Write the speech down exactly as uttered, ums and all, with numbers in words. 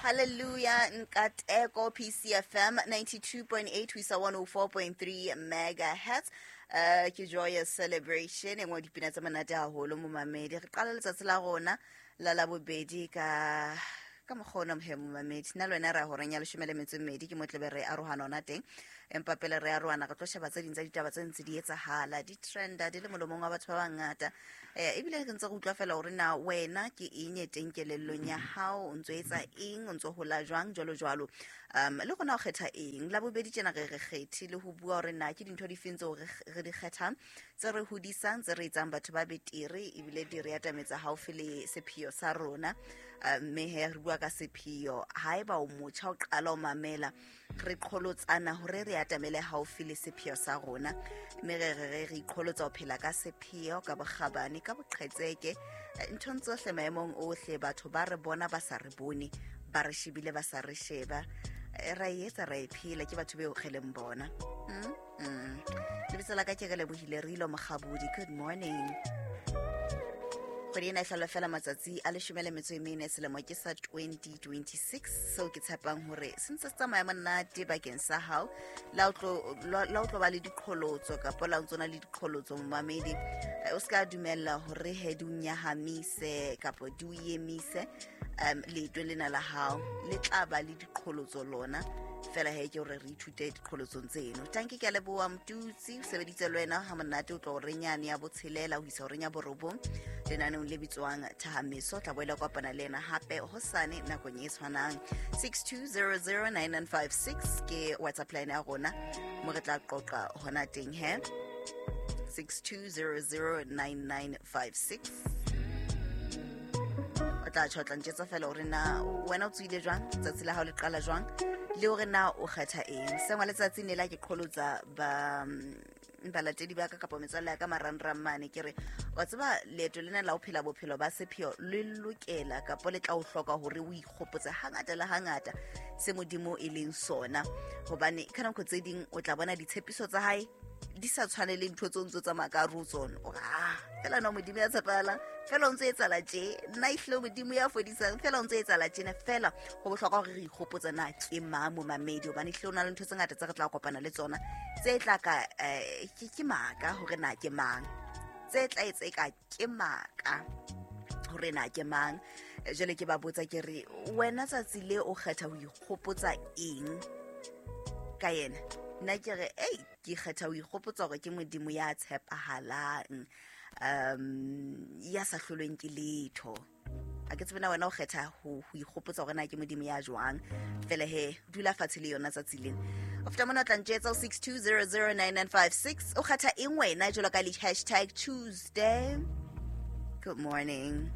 Hallelujah Nkateko P C F M ninety-two point eight ho isa one oh four point three megahertz. Uh, ke joyous celebration e nngwe dipina tse monate haholo momamedi. Re qala letsatsi la rona la Labobedi ka ka mokgwa ona mohe momamedi. Nna le wena re ya horeng ya leshome le metso e mmedi, ke mo tlebe re arohana hona teng. Empa pele re arohana re tlo sheba tse ding tsa ditaba tse ntse di etsahala, di trenda di le molomong wa batho ba bangata. Eh, ebile re ntse re utlwa fela hore na wena ke eng e teng kelellong ya hao, o ntso etsa eng, o ntso hola jwang, jwalo jwalo. Um, le rona o kgetha eng? Labobedi tjena re re kgethe le ho bua hore na ke dintho difeng tseo re, re di kgethang, tse re hodisang, tse re etsang batho ba betere, ebile di re atametsa haufi le sepheo sa rona. Uh, mme he re bua ka sepheo. Haeba o motjha o qala o mamela, re qholotsana hore re atamele haufi le sepheo sa rona, mme re re re iqholotsa ho phela ka sepheo, ka bokgabane, ka boqhetseke, nthong tsohle, maemong ohle. Batho ba re bona ba sa re bone, ba re shebile ba sa re sheba, ra e etsa, ra e phela, ke batho beo re leng bona. Mm, mm. Lebitso la ka ke Relebohile Rilo Mokgabudi. Good morning. Kgwedi ena e hlolwa fela matsatsi a leshome le metso e mene, selemo ke sa twenty twenty-six, seo ke tshepang hore se ntse se tsamaya monate bakeng sa hao. La o tlo, la o tlo ba le diqholotso kapa la o ntso na le diqholotso momamedi, o ska dumella hore he di o nyahamise kapa di o emise. Um, leeto lena la hao le tla ba le diqholotso lona fela, he ke hore re ithute diqholotsong tseno. Tanki, ke a leboha Mtutsi, o sebeditse le wena ha monate, o tlo hore nyane ya botshelela ho isa horeng ya borobong lenaneong le bitswang Thahameso. Tla boela kopana le yena hape hosane nakong e tshwanang. Six two zero zero nine nine five six ke WhatsApp line ya rona, mo re tla qoqa hona teng he. Six two zero zero nine nine five six. O tla tjho, o tla ntjetsa fela hore na wena o tsohile jwang, tsatsi la hao le qala jwang, le hore na o kgetha eng. Sengwa letsatsi ne la ke qholotsa ba balatedi ba ka kapa metswalle ya ka marangrang mane, ke re wa tseba leeto lena la ho phela bophelo ba sepheo le lokela kapa le tla o hloka hore o ikgopotse hangata le hangata se Modimo e leng sona, hobane ka nako tse ding o tla bona ditshepiso tsa hae di sa tshwane le ntho tseo ntso tsamaya ka hare ho tsona. O re, ah, fela no Modimo ya tshepahalang, fela o ntso etsahala tje, nna ehlile Modimo ya fodisang, fela o ntso etsahala tjena. Fela ho bohlokwa hore re ikgopotse na ke mang momamedi, hobane ehlile ho na le ntho tse ngata tse re tla kopana le tsona tse tla ka, eh, ke, ke maka hore na ke mang, tse tla etsa eka ke maka hore na ke mang. Jwale ke ba botsa ke re, wena tsatsi le o kgetha ho ikgopotsa eng ka yena? Nna ke re, ei, ke kgetha ho ikgopotsa hore ke Modimo ya tshepahalang, um, ya sa hlolweng ke letho. A ke tsebe na wena o kgetha ho, ho ikgopotsa hore na ke Modimo ya jwang. Fela he, dula fatshe le yona tsatsi lena. O feta mona o tla ntjetsa ho six two zero zero nine nine five six. O kgetha eng wena jwalo ka le hashtag Tuesday? Good morning.